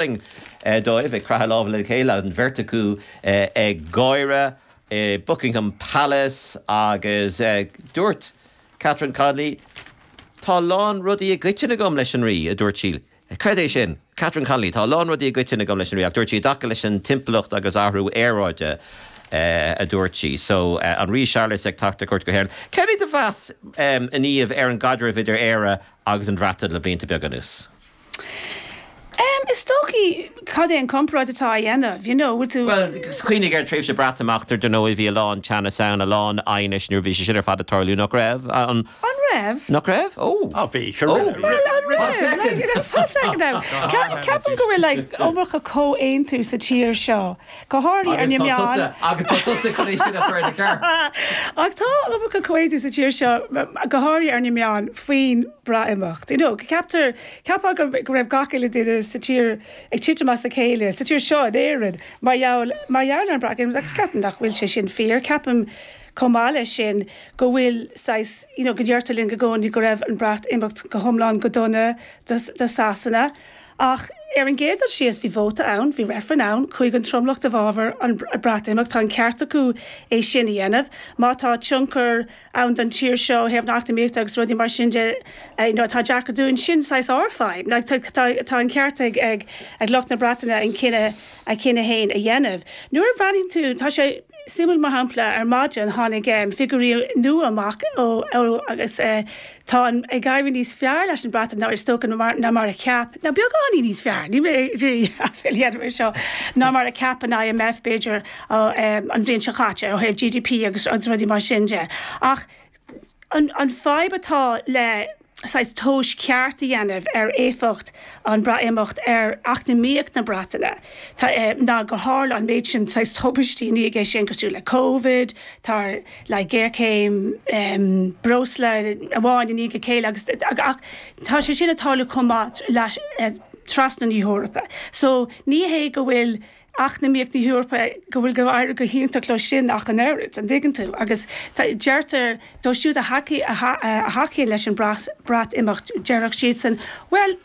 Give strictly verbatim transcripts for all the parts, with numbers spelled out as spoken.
Dóibh ag croitheadh lámh le chéile, an bheirt acu ag gáire i Buckingham Palace, agus dúirt Catherine Connolly, "Tá a lán rudaí i gcoiteann agam leis an Rí," a dúirt sí. Creid é sin, Catherine Connolly, "Tá a lán rudaí i gcoiteann agam leis an Rí," ach dúirt sí i dtaca leis an timpeallacht agus athrú aeráide, a dúirt sí. So an Rí Séarlas ag teacht ar cuairt go hÉirinn. Céard é do mheas, a Niamh, ar an gcaidreamh idir Éire agus an Bhreatain le blianta beaga anuas? Is dóichí, cad é an comparáid atá á dhéanamh, you know, bhfuil tú. Bhuel, cuimhnigh ar tréimhse Breatimeachta, dar ndóigh, bhí a lán teannas ann, a lán aighnis nuair a bhí sé sin ar fad ag tarlú, nach raibh? An. An raibh? Nach raibh? Ó! Á, bhí, sure raibh. Bhuel, an raibh? Like, you know, one second now. Ceapaim go bhfuil, like, iomarca comhaontú sa tír seo, go háirithe ar na meáin. Agus tá tusa chun é sin a chur ina cheart. Ach tá iomarca comhaontú sa tír seo, go háirithe ar na meáin, faoin Breatimeacht. You know, ceaptar, ceapfá go raibh gach uile duine sa tír ag titim as a chéile, sa tír seo in Éirinn, mar gheall, mar gheall ar an Breatimeacht, agus ceapaim nach bhfuil sé sin fíor. Ceapaim chomh maith leis sin go bhfuil saghas, you know, go ndeirtear linn go gcónaí go raibh an Breatimeacht go hiomlán go dona do, do Sasana. Ach ar an gcéad dul síos bhí vóta ann, bhí reifreann ann, chuaigh an tromlach i bhfabhar an Breatimeacht, tá an ceart acu é sin a dhéanamh. Má tá tionchar ann don tír seo ó thaobh na heacnamaíochta agus rudaí mar sin de, you know, atá deacair dúinn, sin saghas ár bhfadhb. Like, tá, tá, tá an ceart ag, ag, ag lucht na Breataine an cinneadh, a chinneadh féin a dhéanamh. Nuair a bhreathnaíonn tú, tá sé suimiúil, mar shampla, ar maidin tháinig figiúirí nua amach ó, ó, agus tá an, ag éirí níos fearr leis an Bhreatain ná is dócha ná mar a cheap, ná beagáinín níos fearr, níl mé ag iarraidh aiféala a dhéanamh air seo, ná mar a cheap an I M F b'fhéidir an bhliain seo caite ó thaobh G D P agus agus rudaí mar sin de. Ach an, an fadhb atá le saghas tomhas ceart a dhéanamh ar éifeacht an Breatimeacht ar eacnamaíocht na Breataine ná gur tharla an méid sin saghas tubaistí i ndiaidh é sin, cosúil le Covid, tá le géarchéim breosla amháin i ndiaidh a chéile, agus ach tá sé sin ag tarlú chomh maith leis trasna na hEorpa. So ní hé go bhfuil eacnamaíocht na hEorpa go bhfuil go éirí go hiontach leo sin ach an oiread, an dtuigeann tú, agus deirtear dóibh siúd a thacaíonn leis an Breatimeacht, déarfadh siadsan, "Bhuel,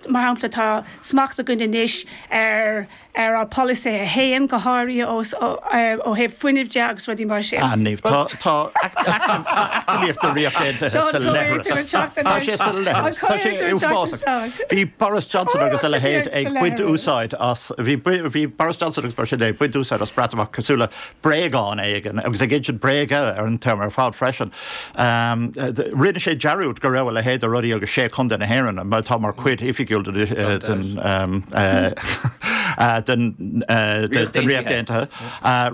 mar shampla, tá smacht againn anois ar ar ár polasaithe féin, go háirithe ó thaobh fuinnimh de agus rudaí mar sin." Ah, Niamh, tá tá eacnamaíocht na Ríochta Aontaithe sa leithreas. Tá sé sa leithreas. Tá sé uafásach. Bhí Boris Johnson agus a leithéid ag baint úsáid as bhí bhí Boris Johnson agus mar sin ag baint úsáid as Breatimeacht cosúil le bréagán éigin agus ag insint bréaga ar an t-am ar fad freisin. Rinne sé dearúd go raibh a leithéid de rudaí agus sé chontae na hÉireann mar atá mar chuid oifigiúil den den den Ríocht Aontaithe.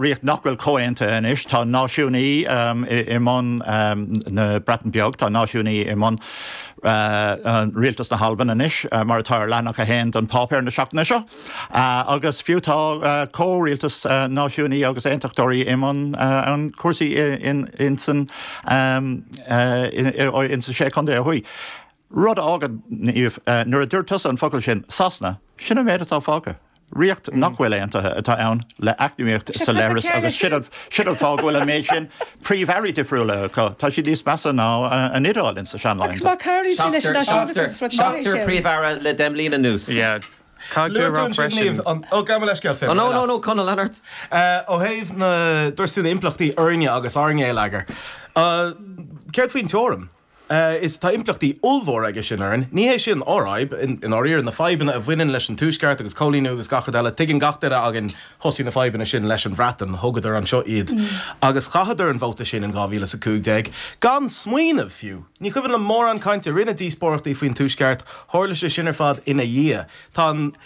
Ríocht nach bhfuil comhaontaithe anois, tá náisiúnaí i mbun na Breataine Beag, tá náisiúnaí i mbun rialtas na hAlban anois, mar atá ar leathanach a haon den páipéar na seachtaine seo. Agus fiú tá comhrialtas náisiúnaí agus aontachtóirí i mbun an cúrsaí in san in sa sé chontae ó thuaidh. Rud a fhágann, nuair a dúirt tusa an focal sin, Sasana, sin an méid atá fágtha. Ríocht nach bhfuil aontaithe atá ann le eacnamaíocht sa leithreas, agus sin an sin an fáth go bhfuil an méid sin príomh-airí difriúla acu. Tá siad níos measa ná an Iodáil insa Agus má cabhraíonn sé leis an náisiúnachas rud maith é Seachtar sin. príomh-aire le deich mbliana anuas. Yeah. Caithfidh tú a Luaigh rá tú ansin, freisin. Niamh, an ó gabh mo leithscéal, Finn, Oh no, ar no, leat. no, Conall Leonard. Ó thaobh na, dúirt tú na impleachtaí orainne agus ár ngeilleagar. Céard faoin teorainn? Is tá impleachtaí ollmhóra aige sin orainn. Ní hé sin ár fhadhb, i ndáiríre, na fadhbanna a bhaineann leis an Tuaisceart agus coilíniú agus gach rud eile. Tuigeann gach duine againn thosaigh na fadhbanna sin leis an Bhreatain, thugadar anseo iad agus chaitheadar an vóta sin in dhá mhíle is a cúig déag gan smaoineamh fiú. Ní cuimhin liom mórán cainte. Rinneadh díospóireachtaí faoin Tuaisceart, tharla sé sin ar fad ina dhiaidh. Tá an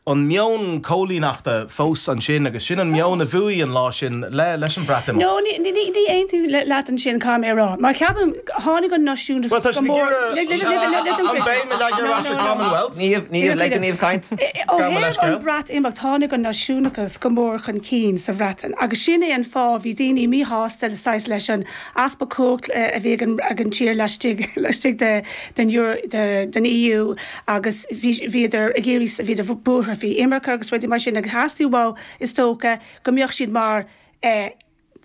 an meon coilíneachta fós ansin agus sin an meon a bhuaigh an lá sin le leis an Breatimeacht. No, ní ní ní aontaím leat ansin, caithfidh mé a rá. Mar ceapaim tháinig an náisiúnachas Bhuel, tá go siad ag mór iarraidh an béim a leagan ar ais ar Commonwealth. Niamh, Niamh, lig do Niamh caint. Ó Gabh mo thaobh an leithscéal. Breatimeacht, tháinig an náisiúnachas go mór chun cinn sa Bhreatain agus sin é an fáth bhí daoine míshásta le saghas leis an easpa cumhacht a bhí ag an ag an tír laistigh laistigh de den Euro de den E U agus bhí bhíodar ag iarraidh bhíodar buartha faoi imirce agus rudaí mar sin, agus theastaigh uathu, is dócha, go mbeadh siad mar eh,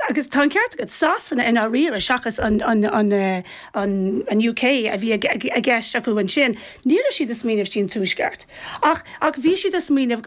agus tá an ceart agat Sasana i ndáiríre seachas an, an, an, eh, an, an UK a bhí i gceist acu ansin. Ní raibh siad ag smaoineamh faoin tuaisceart. Ach ach bhí siad ag smaoineamh